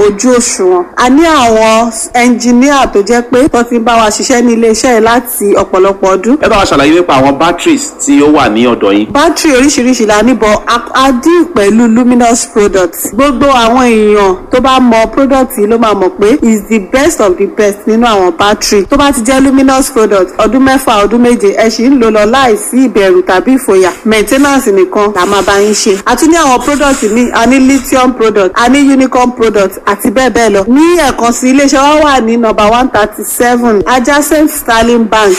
ojú òṣùwọ̀n. A ní àwọn ẹnjìníà tó jẹ́ pé tó ti ń bá wa ṣiṣẹ́ ní iléeṣẹ́ yìí láti ọ̀pọ̀lọpọ̀ ọdún. Ẹ bá wa ṣàlàyé nípa àwọn batteries tí ó wà ní ọ̀dọ̀ yín. Bátìrì oríṣiríṣi la ní, bọ̀ a deal pẹ̀lú Luminous products. Gbogbo àwọn èèyàn tó bá mọ product yìí ló máa mọ̀ pé is the best of the best nínú àwọn bátìrì. Tó bá ti jẹ́ Luminous product, ọdún 6, ọdún 7, ẹ sì ń lò lọ láìsí ìbẹ̀rù tàbí ìfòyà. Maintenance nìkan la máa bá yín ṣe. A tún ní àwọn product míì, a ní lithium product, a ní unicorn product àti bẹ́ẹ̀ bẹ́ẹ̀ lọ. Ní ẹ̀kan sí, iléeṣẹ́ wa wà ní nọ́mbà 137, adjacent Sterling Bank,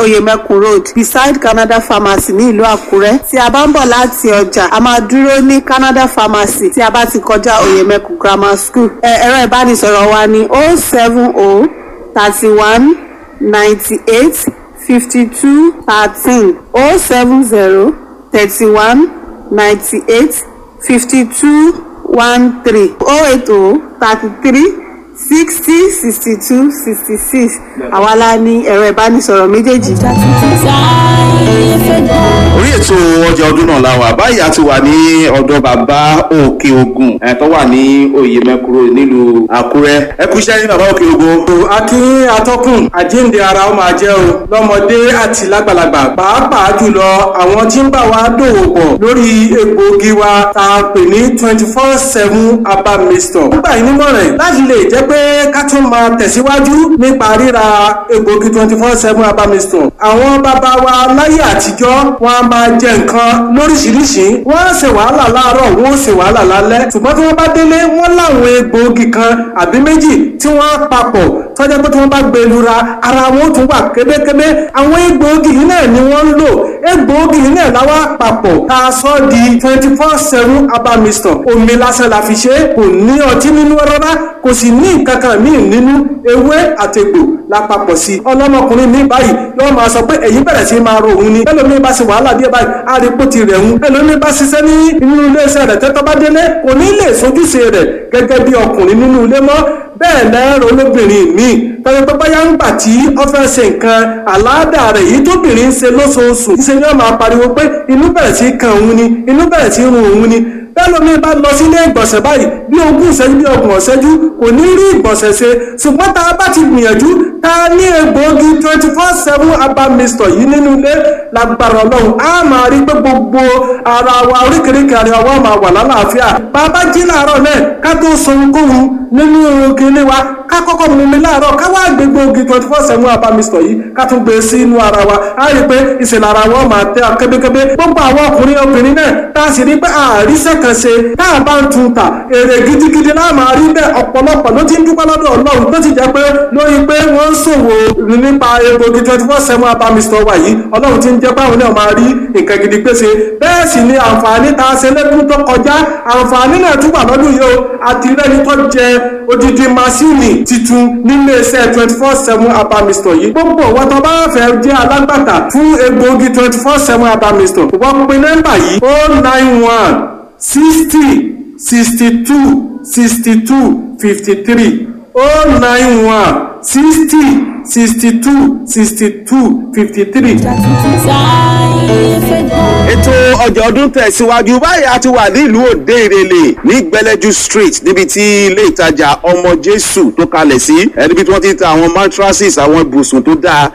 Oyemekun Road, beside Canada Pharmacy ní ìlú Àkúrẹ́. Tí a bá ń bọ̀ láti ọjà, a máa dúró ní Canada Pharmacy tí a bá ti kọjá Oyemekun Grammar School. Ẹ̀rọ ìbánisọ̀rọ̀ wa ní 070 31 98 52 13, 070 31 98 52 13, 080 33 60 62 66. Àwa la ní ẹ̀rọ ìbánisọ̀rọ̀ méjèèjì. Orí ètò ọjà ọdún náà la wà báyìí. A ti wà ní ọ̀dọ̀ bàbá Òkè Ògùn ẹ̀ tó wà ní Oyèmẹkùrò nílùú Àkúrẹ́. Ẹ kú iṣẹ́ ní, bàbá Òkè Ògùn. Akínyìn atọ́kùn, àjíǹde ara ó máa jẹ́ o lọ́mọdé àti lágbàlagbà, pàápàá jùlọ àwọn tí ń bá wa dòwò pọ̀ lórí egbòogi wa tá a pè ní 24/7 herbal mixture. Nígbà yìí nímọ̀ràn láti lè jẹ́ pé ká tún máa tẹ̀síwájú nípa ríra egbòogi 24/7 herbal mixture. Àwọn bàbá wa láyé àtijọ́, wọn a máa jẹ nǹkan lóríṣiríṣi, wọ́n á ṣe wàhálà láàárọ̀, wọ́n ó ṣe wàhálà lálẹ́, ṣùgbọ́n tí wọ́n bá délé, wọ́n láwọn egbòogi kan àbí méjì tí wọ́n á papọ̀ tọ́jà pé tí wọ́n bá gbé lura, ara wọn ó tún wà kébékébé. Àwọn egbòogi yìí náà ni wọ́n ń lò. Egbòogi yìí náà láwá papọ̀ tá a sọ di 24/7 herbal mixture. Omi lásán la fi ṣe é, kò ní ọtí nínú rárá, kò sì ní nǹkan kan míì nínú. Ewé àtegbò la papọ̀ sí i. Ọlọ́mọkùnrin mi báyìí yóò máa sọ pé èyí bẹ̀rẹ̀ sí máa ro òun ni. Ẹlòmíín bá ṣe wàhálà díẹ̀ báyìí, á rí pó ti rẹ̀ ń. Ẹlòmíín bá ṣiṣẹ́ ní inú iléeṣẹ́ rẹ̀ tẹ́tọ́ bá délé, kò ní lè sojúṣe rẹ̀ gẹ́gẹ́ bí ọkùnrin nínú ilé mọ́. Bẹ́ẹ̀ lẹ́rọ olóbìnrin míì tọ́jú pé báyà ń gbà tí ó fẹ́ ṣe nǹkan àláàdà rẹ̀ yìí tóbìnrin ń ṣe lóṣooṣù, ṣe ni wọ́n máa pariwo pé inú bẹ̀rẹ̀ sí kan òun ni, inú bẹ̀rẹ̀ sí run òun ni. Bẹ́ẹ̀ lómi bá lọ sílé ìgbọ̀nsẹ̀ báyìí, bí 20 ìṣẹ́jú, bí 30 ìṣẹ́jú, kò ní rí ìgbọ̀nsẹ̀ ṣe. Ṣùgbọ́n tá a bá ti gbìyànjú tá a ní egbòogi 24/7 herbal mixture yìí nínú ilé, lágbára Ọlọ́run, á máa rí pé gbogbo ara wa, oríkèéríkèé ara wa máa wà lálàáfíà. Bàbá jí láàárọ̀ náà, ká tó sọ ohunkóhun nínú kinní wa, ká kọ́kọ́ mú mi láàárọ̀, ká wá gbé gbòógì 24/7 herbal mixture yìí, ká tún gbé sí inú ara wa, á rí i pé ìṣẹ̀lẹ̀ ara wa máa tẹ́ kébékébé. Gbogbo àwọn ọkùnrin, obìnrin náà tá a sì rí pé àríṣẹ́ kan ṣe tá a bá ń tun ta, èrè gidigidi náà máa rí bẹ́ẹ̀. Ọ̀pọ̀lọpọ̀ ló ti ń dúpẹ́ lọ́dọ̀ Ọlọ́run tó ti jẹ́ pé lórí pé wọ́n ń ṣòwò nípa egbògi 24/7 herbal mixture wa yìí, Ọlọ́run ti ń jẹ́ báwọn náà máa rí nǹkan gidi pèsè. Bẹ́ẹ̀ sì ni àǹfààní tá a ṣe lẹ́kún tó kọjá, àǹfààní náà tún wà lọ́dún yìí o. Àti rẹ́ni tó jẹ odidi masíìnì titun nílé iṣẹ́ 24/7 herbal mixture yìí. Gbogbo wọn tó bá fẹ́ jẹ́ alágbàtà fún egbògi 24/7 herbal mixture, wọ́n pe nọ́mbà yìí: 091 60 62 62 53, 091 60 62 62 53. Ètò ọjà ọdún tẹ̀síwájú báyìí. A ti wà nílùú Òde Ìrèlè ní Gbẹlẹ́jú Street, níbi tí ilé ìtajà Ọmọ Jésù tó kalẹ̀ sí, níbi tí wọ́n ti ń ta àwọn mattresses, àwọn ibùsùn tó dáa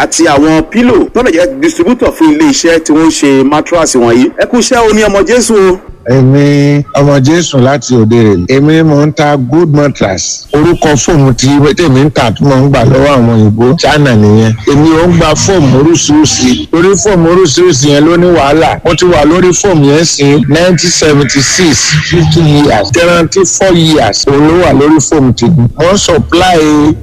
àti àwọn pillow, tó lè jẹ́ distributor fún ilé iṣẹ́ tí wọ́n ń ṣe mattress wọ̀nyí. Ẹ kú iṣẹ́ o ní Ọmọ Jésù o. Èmi Ọmọ Jésù láti Òde Rèlè. Èmi mò ń ta good mattress. Orúkọ fóòmù tí tèmi ń tà tí mò ń gbà lọ́wọ́ àwọn òyìnbó China nìyẹn. Èmi ò ń gba fóòmù oríṣiríṣi torí fóòmù oríṣiríṣi yẹn ló ní wàhálà. Mo ti wà lórí fóòmù yẹn sí 1976, 50 years, guarantee 4 years òun ló wà lórí fóòmù tèmi. Mo ń supply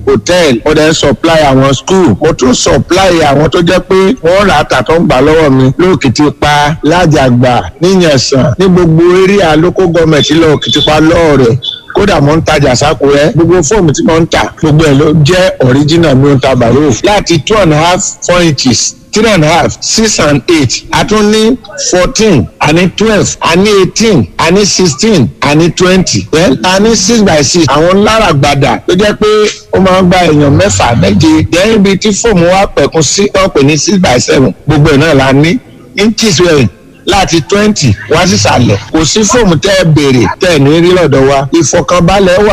hotel, mo dẹ̀ ń supply àwọn school, mo tún supply àwọn tó jẹ́ pé wọ́n rà á tà tó ń gbà lọ́wọ́ mi lókìtìpa, lájàgbà, níyànsán, ní gbogbo area local government lọ Òkìtìpa lọ́ọ̀rẹ̀. Kódà mo ń tajà sákúrẹ́. Gbogbo fóòmù tí mo ń tà, gbogbo ẹ̀ ló jẹ́ original. Mi ò ń ta bàrò láti 2.5, 4 inches, 3.5, 6 and 8. A tún ní 14, a ní 12, a ní 18, a ní 16, a ní 20. Then a ní 6 by 6, àwọn láràgbàdà tó jẹ́ pé ó máa ń gba èèyàn mẹ́fà, méje. Then ibi tí fóòmù wa pẹ̀kun sí, wọ́n pè ní 6 by 7. Gbogbo ẹ̀ náà la ní. Inches rẹ̀ láti 20 wá sísàlẹ̀. Kò sí fóòmù tẹ́ ẹ béèrè tẹ́ ẹ ní rí lọ́dọ̀ wa. Ìfọ̀kànbalẹ̀ wà.